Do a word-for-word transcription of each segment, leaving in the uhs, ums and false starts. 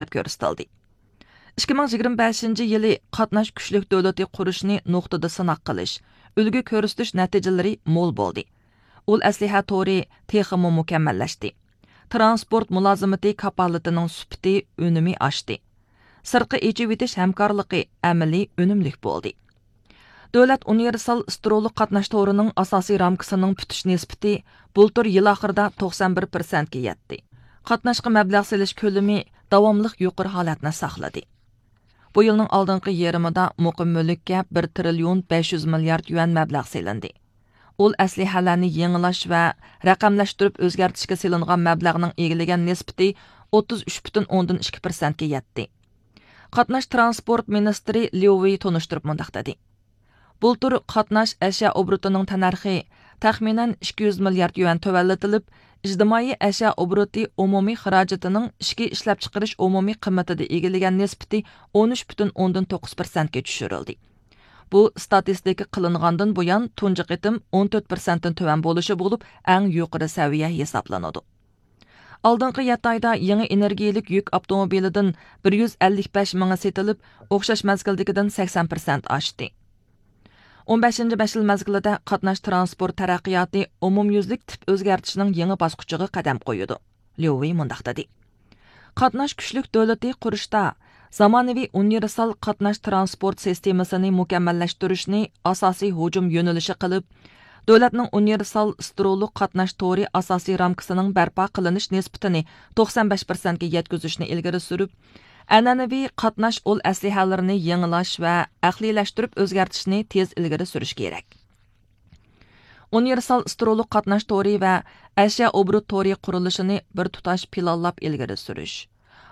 كۆرسىتىلدى. ئىككى مىڭ يىگىرمە بەشىنچى يىلى قاتناش كۈچلۈك دۆلىتى قۇرۇشنى نۇقتىدا سىناق قىلىش، ئۈلگە كۆرسىتىش نەتىجىلىرى مول بولدى. ئۇل ئەسلىھە تورى تېخىمۇ مۇكەممەللەشتى. ترانسپورت مۇلازىمىتى كاپالىتىنىڭ سۈپىتى، ئۈنۈمى ئاشتى. سىرتقا ئېچىۋېتىش ھەمكارلىقى ئەمەلىي ئۈنۈملۈك بولدى. دۆلەت ئۇنىۋېرسال سترولۇق قاتناش تورىنىڭ ئاساسىي رامكىسىنىڭ پۈتۈش نىسبىتى بۇلتۇر يىل ئاخىرىدا توقسان بىر پىرسەنتكە يەتتى. قاتناشقا مەبلەغ سېلىش كۆلىمى داۋاملىق يۇقىرى ھالەتنى ساقلىدى. بۇ يىلنىڭ ئالدىنقى يېرىمىدا مۇقىم مۈلۈككە بىر تىرىليون بەش يۈز مىليارد يۈەن مەبلەغ سېلىندى. ئۇل ئەسلىھەلەرنى يېڭىلاش ۋە رەقەملەشتۈرۈپ ئۆزگەرتىشكە سېلىنغان مەبلەغنىڭ ئىگىلىگەن نىسبىتى ئوتتۇز ئۈچ پۈتۈن ئوندىن ئىككى پىرسەنتكە يەتتى. قاتناش ترانسپورت مىنىستىرى ليۇ ۋېي تونۇشتۇرۇپ مۇنداق دېدى: بۇلتۇر قاتناش ئەشيا ئوبوروتىنىڭ تەننەرخى تەخمىنەن ئىككى يۈز مىليارد يۈەن تۆۋەنلىتىلىپ، ئىجتىمائىي ئەشيا ئوبوروتى ئومۇمىي خىراجىتىنىڭ ئىچكى ئىشلەپچىقىرىش ئومۇمىي قىممىتىدە ئىگىلىگەن نىسبىتى ئون ئۈچ پۈتۈن ئوندىن توققۇز پىرسەنتكە چۈشۈرۈلدى. بۇ ستاتىستىكا قىلىنغاندىن بۇيان تۇنجى قېتىم ئون تۆت پىرسەنتتىن تۆۋەن بولۇشى بولۇپ، ئەڭ يۇقىرى سەۋىيە ھېسابلىنىدۇ. ئالدىنقى يەتتە ئايدا يېڭى ئېنېرگىيىلىك يۈك ئاپتوموبىلىدىن بىر يۈز ئەللىك بەش مىڭى سېتىلىپ، ئوخشاش مەزگىلدىكىدىن سەكسەن پىرسەنت ئاشتى. ئون بەشىنچى بەش يىل مەزگىلىدە قاتناش ترانسپورت تەرەققىياتى ئومۇميۈزلۈك تىپ ئۆزگەرتىشنىڭ يېڭى باسقۇچىغا قەدەم قويىدۇ. ليۇ ۋېي مۇنداق دېدى: قاتناش كۈچلۈك دۆلىتى قۇرۇشتا زامانىۋى ئۇنىۋېرسال قاتناش ترانسپورت سىستېمىسىنى مۇكەممەللەشتۈرۈشنى ئاساسىي ھۇجۇم يۆنىلىشى قىلىپ، دۆلەتنىڭ ئۇنىۋېرسال سترولۇق قاتناش تورى ئاساسىي رامكىسىنىڭ بەرپا قىلىنىش نىسبىتىنى توقسان بەش پىرسەنتكە يەتكۈزۈشنى ئىلگىرى سۈرۈپ، ئەنئەنىۋى قاتناش ئۇل ئەسلىھەلىرىنى يېڭىلاش ۋە ئەقلىيلەشتۈرۈپ ئۆزگەرتىشنى تېز ئىلگىرى سۈرۈش كېرەك. ئۇنىۋېرسال سترولۇق قاتناش تورى ۋە ئەشيا ئوبوروت تورى قۇرۇلۇشىنى بىر تۇتاش پىلانلاپ ئىلگىرى سۈرۈش،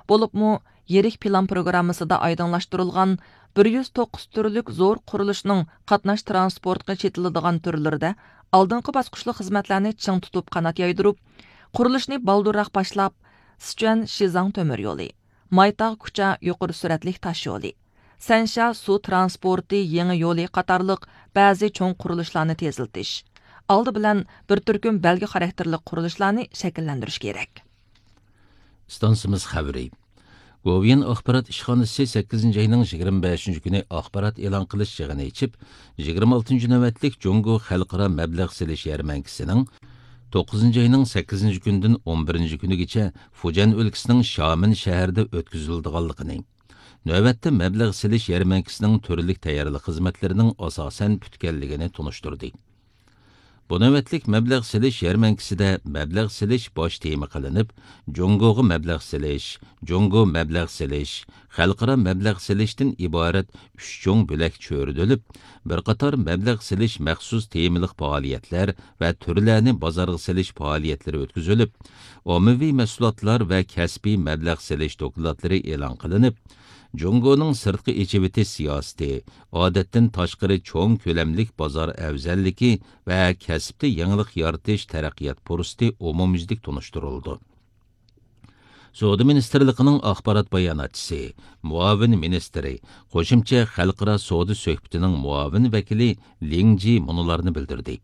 بولۇپمۇ يىرىك پىلان پروگراممىسىدا ئايدىڭلاشتۇرۇلغان بىر يۈز توققۇز تۈرلۈك زور قۇرۇلۇشنىڭ قاتناش ترانسپورتقا چېتىلىدىغان تۈرلىرىدە ئالدىنقى باسقۇچلۇق خىزمەتلەرنى چىڭ تۇتۇپ قانات يايدۇرۇپ، قۇرۇلۇشنى بالدۇرراق باشلاپ، سىچۈەن شىزاڭ تۆمۈر يولى، مايتاغ كۇچا يۇقىرى سۈرئەتلىك تاش يولى، سەنشيا سۇ ترانسپورتى يېڭى يولى قاتارلىق بەزى چوڭ قۇرۇلۇشلارنى تېزلىتىش، ئالدى بىلەن بىر تۈركۈم بەلگە خاراكتېرلىك قۇرۇلۇشلارنى شەكىللەندۈرۈش كېرەك. ئىستانسىمىز خەۋىرى. گوۋۇيۈەن ئاخبارات ئىشخانىسى سەككىزىنچى ئاينىڭ يىگىرمە بەشىنچى كۈنى ئاخبارات ئېلان قىلىش يىغىنى ئېچىپ، يىگىرمە ئالتىنچى نۆۋەتلىك جۇڭگو خەلقئارا مەبلەغ سېلىش يەرمەنكىسىنىڭ توققۇزىنچى ئاينىڭ سەككىزىنچى كۈنىدىن ئون بىرىنچى كۈنىگىچە فۇجيەن ئۆلكىسىنىڭ شامېن شەھىرىدە ئۆتكۈزۈلىدىغانلىقىنى، نۆۋەتتە مەبلەغ سېلىش يەرمەنكىسىنىڭ تۈرلۈك تەييارلىق خىزمەتلىرىنىڭ ئاساسەن پۈتكەنلىكىنى تونۇشتۇردى. بۇ نۆۋەتلىك مەبلەغ سېلىش يەرمەنكىسىدە مەبلەغ سېلىش باش تېما قىلىنىپ، جۇڭگوغا مەبلەغ سېلىش، جۇڭگو مەبلەغ سېلىش، خەلقئارا مەبلەغ سېلىشتىن ئىبارەت ئۈچ چوڭ بۆلەك چۆرىدىلىپ، بىر قاتار مەبلەغ سېلىش مەخسۇس تېمىلىق پائالىيەتلەر ۋە تۈرلەرنى بازارغا سېلىش پائالىيەتلىرى ئۆتكۈزۈلۈپ، ئاممىۋى مەھسۇلاتلار ۋە كەسپىي مەبلەغ سېلىش دوكلاتلىرى ئېلان قىلىنىپ، جۇڭگونىڭ سىرتقا ئېچىۋېتىش سىياسىتى، ئادەتتىن تاشقىرى چوڭ كۆلەملىك بازار ئەۋزەللىكى ۋە كەسىپتە يېڭىلىق يارىتىش تەرەققىيات پۇرسىتى ئومۇميۈزلۈك تونۇشتۇرۇلىدۇ. سودا مىنىستىرلىقىنىڭ ئاخبارات باياناتچىسى، مۇئاۋىن مىنىستىرى، قوشۇمچە خەلقئارا سودا سۆھبىتىنىڭ مۇئاۋىن ۋەكىلى لىڭ جى مۇنۇلارنى بىلدۈردى.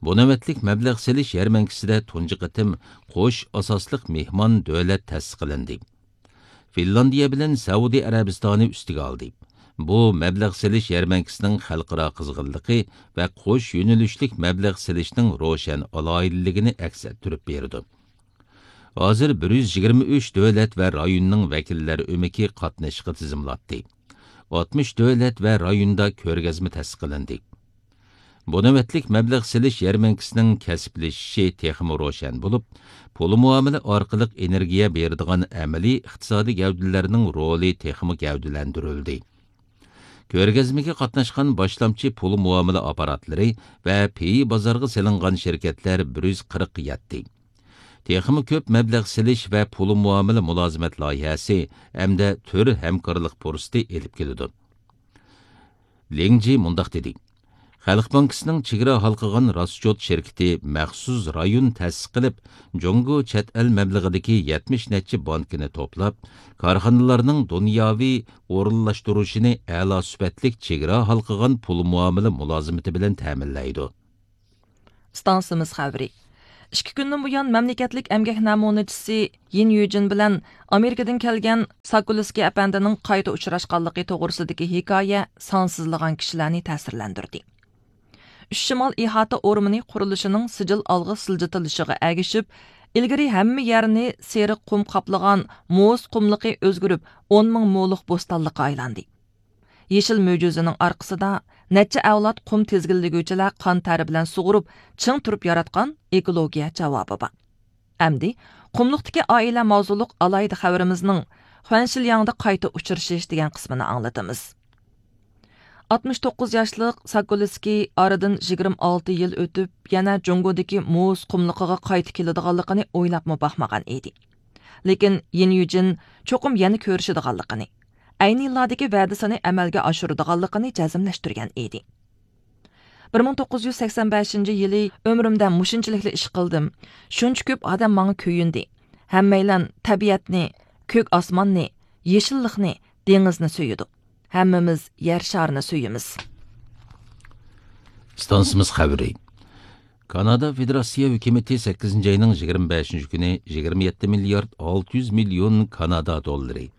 بۇ نۆۋەتلىك مەبلەغ سېلىش يەرمەنكىسىدە تۇنجى قېتىم قوش ئاساسلىق مېھمان دۆلەت تەسىس قىلىندى. فىنلاندىيە بىلەن سەئۇدى ئەرەبىستانى ئۈستىگە ئالدى. بۇ مەبلەغ سېلىش يەرمەنكىسىنىڭ خەلقئارا قىزغىنلىقى ۋە قوش يۆنىلىشلىك مەبلەغ سېلىشنىڭ روشەن ئالاھىدىلىكىنى ئەكس ئەتتۈرۈپ بېرىدۇ. ھازىر بىر يۈز يىگىرمە ئۈچ دۆلەت ۋە رايوننىڭ ۋەكىللەر ئۆمىكى قاتنىشىشقا تىزىملاتتى. ئاتمىش دۆلەت ۋە رايوندا كۆرگەزمە تەسىس قىلىندى. بۇ نۆۋەتلىك مەبلەغ سېلىش يەرمەنكىسىنىڭ كەسىپلىشىشى تېخىمۇ روشەن بولۇپ، پۇل مۇئامىلە ئارقىلىق ئېنېرگىيە بېرىدىغان ئەمەلىي ئىقتىسادىي گەۋدىلەرنىڭ رولى تېخىمۇ گەۋدىلەندۈرۈلدى. كۆرگەزمىگە قاتناشقان باشلامچى پۇل مۇئامىلە ئاپپاراتلىرى ۋە پېيى بازارغا سېلىنغان شىركەتلەر بىر يۈز قىرىققا يەتتى. تېخىمۇ كۆپ مەبلەغ سېلىش ۋە پۇل مۇئامىلە مۇلازىمەت لايىھەسى ھەمدە تۈر ھەمكارلىق پۇرسىتى ئېلىپ كېلىدۇ. لىڭ جى مۇنداق دېدى: خەلق بانكىسىنىڭ چېگرا ھالقىغان راسچوت شىركىتى مەخسۇس رايون تەسىس قىلىپ، جۇڭگو چەت ئەل مەبلىغىدىكى يەتمىش نەچچە بانكىنى توپلاپ، كارخانىلارنىڭ دۇنياۋى ئورۇنلاشتۇرۇشىنى ئەلا سۈپەتلىك چېگرا ھالقىغان پۇل مۇئامىلە مۇلازىمىتى بىلەن تەمىنلەيدۇ. ئىستانسىمىز خەۋىرى. ئىككى كۈندىن بۇيان مەملىكەتلىك ئەمگەك نەمۇنىچىسى يىن يۈجىن بىلەن ئامېرىكىدىن كەلگەن ساكۇلسكىي ئەپەندىنىڭ قايتا ئۇچراشقانلىقى توغرىسىدىكى ھېكايە سانسىزلىغان كىشىلەرنى تەسىرلەندۈردى. ئۈچ شىمال ئىھاتە ئورمىنى قۇرۇلۇشىنىڭ سىجىل ئالغا سىلجىتىلىشىغا ئەگىشىپ، ئىلگىرى ھەممە يەرنى سېرىق قۇم قاپلىغان موز قۇملۇقى ئۆزگىرىپ، ئون مىڭ مولۇق بوستانلىققا ئايلاندى. يېشىل مۆجىزىنىڭ ئارقىسىدا نەچچە ئەۋلاد قۇم تىزگىنلىگۈچىلەر قان تەرى بىلەن سۇغۇرۇپ، چىڭ تۇرۇپ ياراتقان ئېكولوگىيە جاۋابى بار. ئەمدى قۇملۇقتىكى ئائىلە ماۋزۇلۇق ئالاھىدە خەۋىرىمىزنىڭ خۇەنشىلياڭدا قايتا ئۇچرىشىش دېگەن قىسمىنى ئاڭلىتىمىز. ئاتمىش توققۇز ياشلىق ساكولسكىي ئارىدىن يىگىرمە ئالتە يىل ئۆتۈپ، يەنە جۇڭگودىكى موز قۇملۇقىغا قايتا كېلىدىغانلىقىنى ئويلاپمۇ باقمىغان ئىدى. لېكىن يىن يۈجىن چوقۇم يەنە كۆرۈشىدىغانلىقىنى، ئەينى يىللاردىكى ۋەدىسىنى ئەمەلگە ئاشۇرىدىغانلىقىنى جەزملەشتۈرگەن ئىدى. بىر مىڭ توققۇز يۈز سەكسەن بەشىنچى يىلى ئۆمرۈمدە مۇشۇنچىلىكلا ئىش قىلدىم، شۇنچە كۆپ ئادەم ماڭا كۆيۈندى. ھەممەيلەن تەبىئەتنى، كۆك ئاسماننى، يېشىللىقنى، دېڭىزنى سۆيىدۇ. ھەممىمىز يەر شارىنى سۆيىمىز. ئىستانسىمىز خەۋىرى. كانادا فېدېراتسىيە ھۆكۈمىتى سەككىزىنچى ئاينىڭ يىگىرمە بەشىنچى كۈنى يىگىرمە يەتتە مىليارد ئالتە يۈز مىليون كانادا دوللىرى،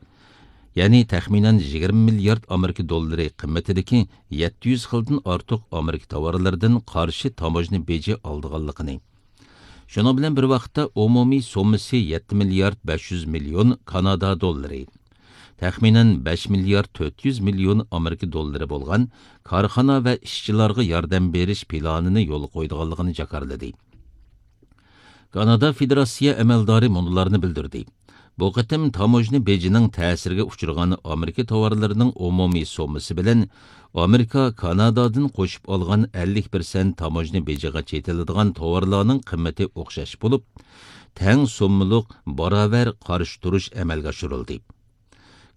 يەنى تەخمىنەن يىگىرمە مىليارد ئامېرىكا دوللىرى قىممىتىدىكى يەتتە يۈز خىلدىن ئارتۇق ئامېرىكا تاۋارلىرىدىن قارشى تاموژنا بېجى ئالىدىغانلىقىنى، شۇنىڭ بىلەن بىر ۋاقىتتا ئومۇمىي سوممىسى يەتتە مىليارد بەش يۈز مىليون كانادا دوللىرى، تەخمىنەن بەش مىليارد تۆت يۈز مىليون ئامېرىكا دوللىرى بولغان كارخانا ۋە ئىشچىلارغا ياردەم بېرىش پىلانىنى يولغا قويىدىغانلىقىنى جاكارلىدى. كانادا فېدېراتسىيە ئەمەلدارى مۇنۇلارنى بىلدۈردى: بۇ قېتىم تاموژنا بېجىنىڭ تەسىرىگە ئۇچرىغان ئامېرىكا تاۋارلىرىنىڭ ئومۇمىي سوممىسى بىلەن ئامېرىكا كانادادىن قوشۇپ ئالغان ئەللىك پىرسەنت تاموژنا بېجىغا چېتىلىدىغان تاۋارلارنىڭ قىممىتى ئوخشاش بولۇپ، تەڭ سوممىلىق باراۋەر قارشى تۇرۇش ئەمەلگە ئاشۇرۇلدى.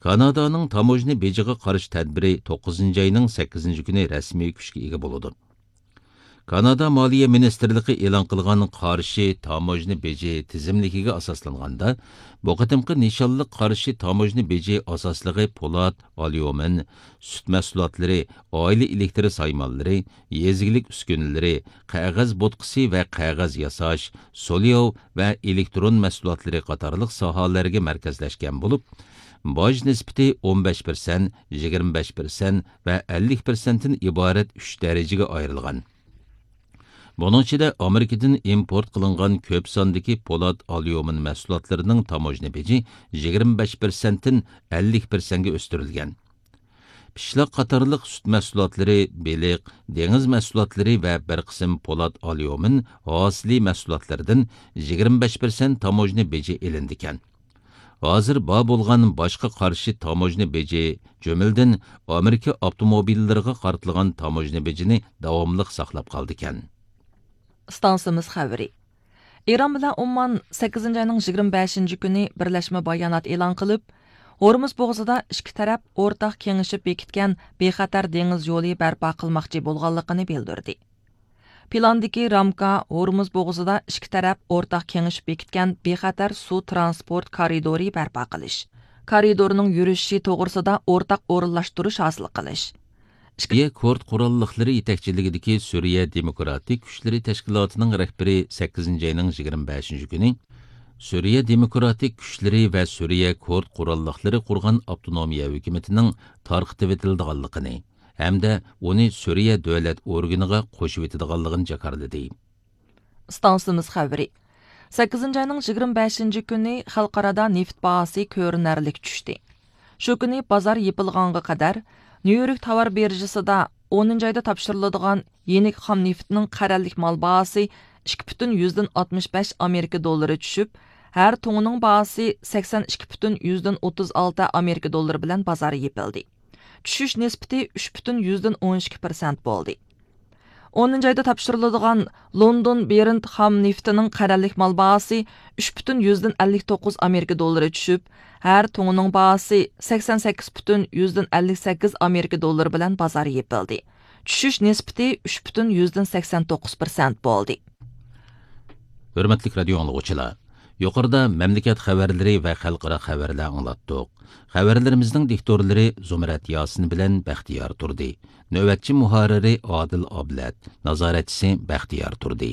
كانادانىڭ تاموژنا بېجىغا قارشى تەدبىرى توققۇزىنچى ئاينىڭ سەككىزىنچى كۈنى رەسمىي كۈچكە ئىگە بولىدۇ. كانادا مالىيە مىنىستىرلىقى ئېلان قىلغان قارشى تاموژنا بېجى تىزىملىكىگە ئاساسلانغاندا، بۇ قېتىمقى نىشانلىق قارشى تاموژنا بېجى ئاساسلىقى پولات، ئاليۇمىن، سۈت مەھسۇلاتلىرى، ئائىلە ئېلېكتر سايمانلىرى، يېزا ئىگىلىك ئۈسكۈنىلىرى، قەغەز بوتقىسى ۋە قەغەز ياساش، سولياۋ ۋە ئېلېكترون مەھسۇلاتلىرى قاتارلىق ساھەلەرگە مەركەزلەشكەن بولۇپ، باج نىسبىتى ئون بەش پىرسەنت، يىگىرمە بەش پىرسەنت ۋە ئەللىك پىرسەنتتىن ئىبارەت ئۈچ دەرىجىگە ئايرىلغان. بۇنىڭ ئىچىدە ئامېرىكىدىن ئىمپورت قىلىنغان كۆپ ساندىكى پولات، ئاليۇمىن مەھسۇلاتلىرىنىڭ تاموژنا بېجى يىگىرمە بەش پىرسەنتتىن ئەللىك پىرسەنتكە ئۆستۈرۈلگەن. پىشلاق قاتارلىق سۈت مەھسۇلاتلىرى، بېلىق، دېڭىز مەھسۇلاتلىرى ۋە بىر قىسىم پولات، ئاليۇمىن ھاسىلى مەھسۇلاتلىرىدىن يىگىرمە بەش پىرسەنت تاموژنا بېجى ئېلىنىدىكەن. ھازىر بار بولغان باشقا قارشى تاموژنا بېجى، جۈملىدىن ئامېرىكا ئاپتوموبىللىرىغا قارىتىلغان تاموژنا بېجىنى داۋاملىق ساقلاپ قالىدىكەن. ئىستانسىمىز خەۋىرى. ئىران بىلەن ئومان سەككىزىنچى ئاينىڭ يىگىرمە بەشىنچى كۈنى بىرلەشمە بايانات ئېلان قىلىپ، ھورمۇز بوغۇزىدا ئىككى تەرەپ ئورتاق كېڭىشىپ بېكىتكەن بىخەتەر دېڭىز يولى بەرپا قىلماقچى بولغانلىقىنى بىلدۈردى. پىلاندىكى رامكا ھورمۇز بوغۇزىدا ئىككى تەرەپ ئورتاق كېڭىشىپ بېكىتكەن بىخەتەر سۇ ترانسپورت كارىدورى بەرپا قىلىش، كارىدورنىڭ يۈرۈشۈشى توغرىسىدا ئورتاق ئورۇنلاشتۇرۇش ھاسىل قىلىش. سۈرىيە كۇرد قوراللىقلىرى يېتەكچىلىكىدىكى سۈرىيە دېموكراتىك كۈچلىرى تەشكىلاتىنىڭ رەھبىرى سەككىزىنچى ئاينىڭ يىگىرمە بەشىنچى كۈنى سۈرىيە دېموكراتىك كۈچلىرى ۋە سۈرىيە كۇرد قوراللىقلىرى قۇرغان ئاپتونومىيە ھۆكۈمىتىنىڭ تارقىتىۋېتىلىدىغانلىقىنى ھەمدە ئۇنى سۈرىيە دۆلەت ئورگىنىغا قوشۇۋېتىدىغانلىقىنى جاكارلىدى. ئىستانسىمىز خەۋىرى. سەككىزىنچى ئاينىڭ يىگىرمە بەشىنچى كۈنى خەلقئارادا نېفىت باھاسى كۆرۈنەرلىك چۈشتى. شۇ كۈنى بازار يېپىلغانغا قەدەر نيۇ يورك تاۋار بىرژىسىدا ئونىنچى ئايدا تاپشۇرۇلىدىغان يېنىك خام نېفىتنىڭ قەرەللىك مال باھاسى ئىككى پۈتۈن يۈزدىن ئاتمىش بەش ئامېرىكا دوللىرى چۈشۈپ، ھەر تۇڭىنىڭ باھاسى سەكسەن ئىككى پۈتۈن يۈزدىن ئوتتۇز ئالتە ئامېرىكا دوللىرى بىلەن بازار يېپىلدى. چۈشۈش نىسبىتى ئۈچ پۈتۈن يۈزدىن ئون ئىككى پىرسەنت بولدى. ئونىنچى ئايدا تاپشۇرۇلىدىغان لوندون برېنت خام نېفىتىنىڭ قەرەللىك مال باھاسى ئۈچ پۈتۈن يۈزدىن ئەللىك توققۇز ئامېرىكا دوللىرى چۈشۈپ، ھەر تۇڭىنىڭ باھاسى سەكسەن سەككىز پۈتۈن يۈزدىن ئەللىك سەككىز ئامېرىكا دوللىرى بىلەن بازار يېپىلدى. چۈشۈش نىسبىتى ئۈچ پۈتۈن يۈزدىن سەكسەن توققۇز پىرسەنت بولدى. ھۆرمەتلىك رادىيو ئاڭلىغۇچىلار، يۇقىرىدا مەملىكەت خەۋەرلىرى ۋە خەلقئارا خەۋەرلەر ئاڭلاتتۇق. خەۋەرلىرىمىزنىڭ دىكتورلىرى زۇمرەت ياسىن بىلەن بەختىيار تۇردى. نۆۋەتچى مۇھەررىرى ئادىل ئابلەت، نازارەتچىسى بەختىيار تۇردى.